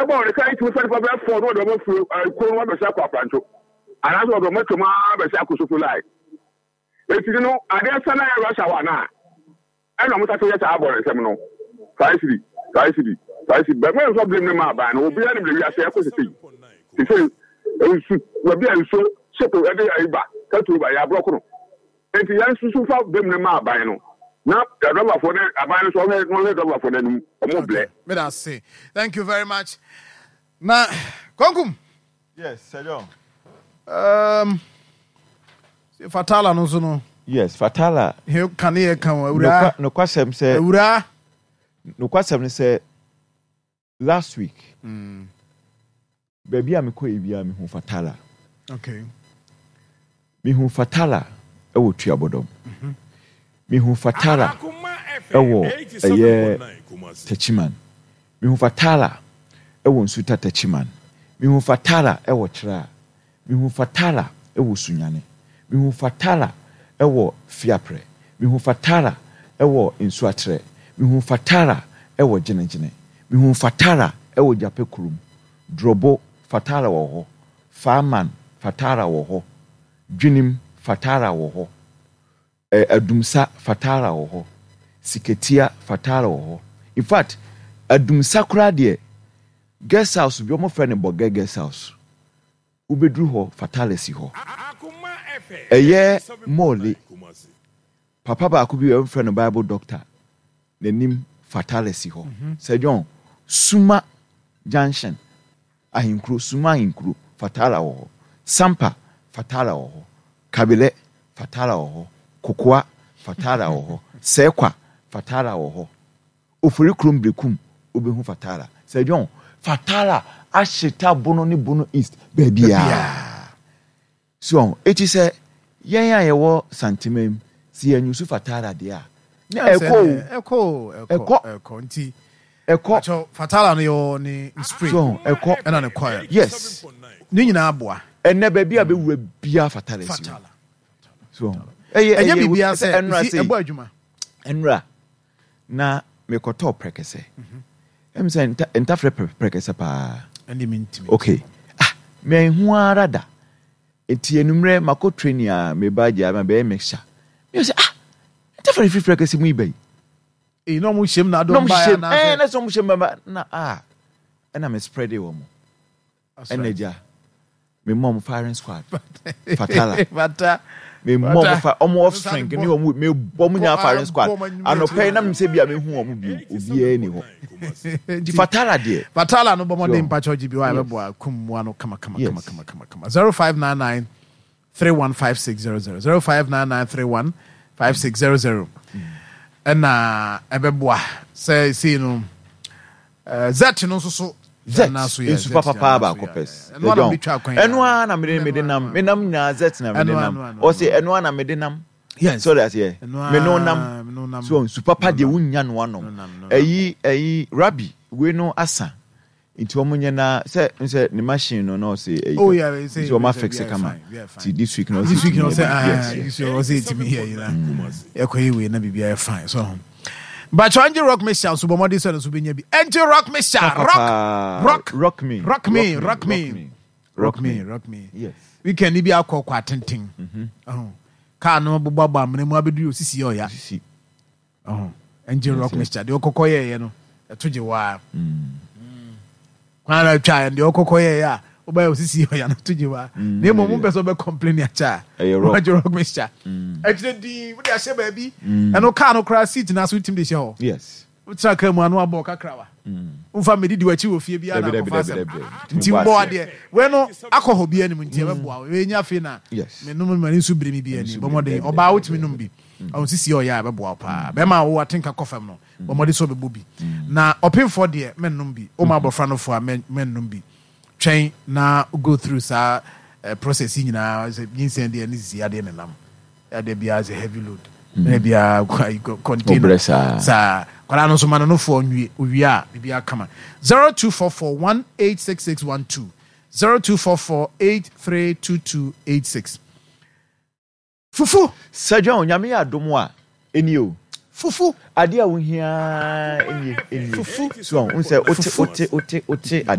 Ɛbɔ wɔn ka etumi fa nipa bɛyɛ fɔɔ na ɔde wɔn afiri kuro no abɛsi akɔ Afrancho anaasɛ ɔde wɔn atwam ara abɛsi akɔ Sofo line. Eti no adeɛ sa na yɛ rush hour no a ɛna wɔn sase yɛ saa abɔ nsɛm no 5 cedi, 5 cedi, 5 cedi, bɛn mfa blame ne ma aban no. Obiara nim de wiase ɛkɔ sese yi sese nsu baabi a nsuo ship ɛde ayi ba petrol ba yɛ aborɔko no. Eti yɛn nso fa blame ne ma aban no na dɔbafoɔ ne aban no so ɔhwɛ na ɔhwɛ dɔbafoɔ no anim ɔmo blɛ. Meda ase. Thank you very much. Na Konkum. Yes, Sir John. Fatala no so no. Yes, Fatala. He ka ne yɛ ka o awura. Nokwasɛm sɛ. Awura. Nokwasɛm ne sɛ last week. Baabi a mekɔ yɛ biara mehu Fatala. Mehu Fatala wɔ Tuabɔdɔm. Mehu Fatala wɔ ɛyɛ Techiman. Mehu Fatala wɔ Nsuta Techiman. Mehu Fatala wɔ Kyerɛ. Mehu Fatala wɔ Sunyani. Mehu Fatala wɔ Fiaprɛ. Mehu Fatala wɔ Nsuatrɛ. Mehu Fatala wɔ Gyenegyene. Mehu Fatala wɔ Gyapɛ kurom. Drobo, Fatala wɔ hɔ. Faaman, Fatara wɔ hɔ. Dwenem, Fatara wɔ hɔ. Adumsa, Fatara wɔ hɔ. Sikatia, Fatara wɔ hɔ. In fact, Adumsa koraa deɛ, guest house bi, wɔfrɛ no Bɔgɛ guest house. Wobɛduru hɔ, Fatara si hɔ. Ɛyɛ Morley. Papa baako bi wɔfrɛ no Bible doctor, n'anim Fatara si hɔ. Sir John, Suma Junction, Ahenkuro, Suma Ahenkuro, Fatara wɔ hɔ. Sampa, Fatara wɔ hɔ. Kabilɛ, Fatara wɔ hɔ. Kokoa, Fatara wɔ hɔ. Sɛkwa, Fatara wɔ hɔ. Ofori kurom Berekum, wobɛhu Fatara. Sir John, Fatara ahyeta Bono ne Bono East baabiara. So ɔho? Eti sɛ yɛn a yɛwɔ Santemam, sɛ yɛanyusu Fatara deɛ a, na ɛkɔ o. Ɛkɔ o, ɛkɔ, ɛkɔ. Nti, Ɛkɔ. Pakyɛw, Fatara no yɛwɔ ne spray. So ɔho? Ɛkɔ. Ɛna ne coil. Yes. Ne nyinaa boa. Ɛnnɛ baabi a bɛwura biara Fatara si hɔ. Fatara. So ɔho? Ɛyɛ, Ɛnyɛ ɛyɛ, biribiara sɛ sɛ, ɛnora you see, sei. ɛbɔ adwuma. Ɛnora, na mekɔtɔɔ prɛkɛsɛ. Ɛm sɛ nta, ntafrɛ prɛkɛsɛ paa. Ɛnde mentumi. Okay. Ah, manhu ara da. Enti anwummerɛ makɔ training a meba agya ma bɛyɛ mixture. Meyɛ sɛ ah, ntafrɛ no firi prɛkɛsɛ mu yi ba yi. Ee, na ɔmo hyɛm na Na adɔm ɔmo baeɛ hyehyɛ mu, anaasɛ? ɛɛ, na sɛ ɔmo hyɛ mu ba na ah, ɛna me spreade wɔn. Ɛna agya, me mɔ ɔmo firing squad. Fatala. Fata. Me mɔ ɔmo fa ɔmo offspring ne ɔmo me bɔ ɔmo nyinaa firing squad. Anɔpɛ yi na mi sɛ bi a me hu ɔmo bio, obiara ni hɔ. Nti Fatala deɛ. Fatala no bɔ mmɔden So, mpakyɛw gye bi hɔ a yes. ɛbɛboa kum mmoa no kama kama kama Yes. kama kama kama. 0599 315600 0599 315600 ɛna ɛbɛboa sɛ sei no Zet no nso so. Zet nsu papapaa baako pɛ. Ɛno ara na mede mede nam me nam nyinaa zet na mede nam. Ɔse ɛno ara na mede nam. Yes. So that's yeah. Me no nam. So nsu papa deɛ wonya no anom. Ɛyi ɛyi rabi wei no asa. Nti wɔn nyɛ na sɛ nsɛ ne machine no na ɔsɛ ɛyi. Oh yeah, nti wɔn afix kama. Ti this week na ɔsɛ this week na etimi ɔsɛ yɛ ah yes yes. This week ɔsɛ etimi yɛ yi na ɛkɔ yɛ wei na biribi ayɛ fine so ho. Bàtchɛ Angel Rock Mixture nso bɔ mmɔden sɛ no nso bɛnya bi. Angel Rock Mixture rock rock rock me rock me rock me rock me rock me. Yes. Weekend bi akɔ kɔ atenten. Ɔho kaa no bobɔ abɔ amena mu abɛduru osisi yɛ ɔya. Osisi. Ɔho Angel Rock Mixture deɛ ɔkɔkɔ yɛɛyɛ no ɛto gye waa. Kwan na atwa yɛ deɛ ɔkɔkɔ yɛɛyɛ a wobɛyɛ osisi ɔya no to gye waa. Na mmom wompɛ sɛ wobɛ complain akyɛ a Ɛyɛ rock. Angel Rock Mixture. Akyire din wode ahyɛ baabi. Ɛno kaa no koraa seat no ase wotumi de hyɛ hɔ. Yes. Wotena kaa mu ano abɔ kakrawa. Womfa mmɛdidi w'akyi wɔ fie biara na Dabi dabi akɔfa dabi asɛm. dabi. Nti Tumi bɔ mbɔ aseɛ. adeɛ. Wei no akɔ hɔ biara nim nti ɛbɛboa wo. Wei nyɛ afei na Yes. menom m'ani nso biri me bi Ɛno ani. nso Bɔ biri. mmɔden. Dabi Ɔbaa dabi wotumi dabi nom dabi. bi. Ɔho sisi ɔyɛ a ɛbɛboa wo paa. Bɛrima a wowɔ atenka kɔ fam no, bɔ mmɔden sɛ wobɛbɔ bi. Na ɔpemfoɔ deɛ mɛnnom bi. Woma abɔfra no fo a mɛnnom bi. Twɛn na go through saa process yi nyinaa sɛ nyinsɛn deɛ ne sisi adeɛ nenam. Adeɛ biara sɛ heavy load. Na biara container. Wobrɛ saa. Saa. Kwadaa no nso ma no nofoɔ nwie. Owie a biribiara kama. 0244 186612 0244 832286. Fufu. Sir John, Nyame yɛ adom a, ɛnie o. Fufu. Adeɛ a wohia ara nie, ɛnie. Fufu. So, wohu sɛ wote, Fufu. wote, wote, wote adeɛ.